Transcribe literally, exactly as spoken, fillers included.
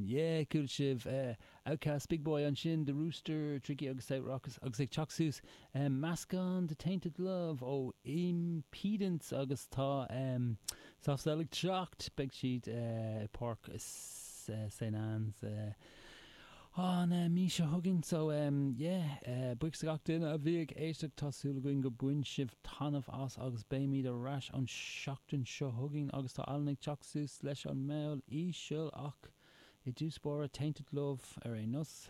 Yeah, chuala sibh OutKast, Big Boi ansin, The Rooster, Tricky agus South Rockers agus ag teacht suas meascán de Tainted Love ó Impedance agus tá Soft Cell ag teacht, beidh siad i Páirc Saint Anne's an mí seo chugainn. So yeah, buíochas do gach duine a bhí ag éisteacht, tá súil againn gur bhain sibh taitneamh as agus beimid ar ais an seachtain seo chugainn agus tá Alan ag teacht suas leis an mball íseal ach i dtús báire Tainted Love ar aon nós.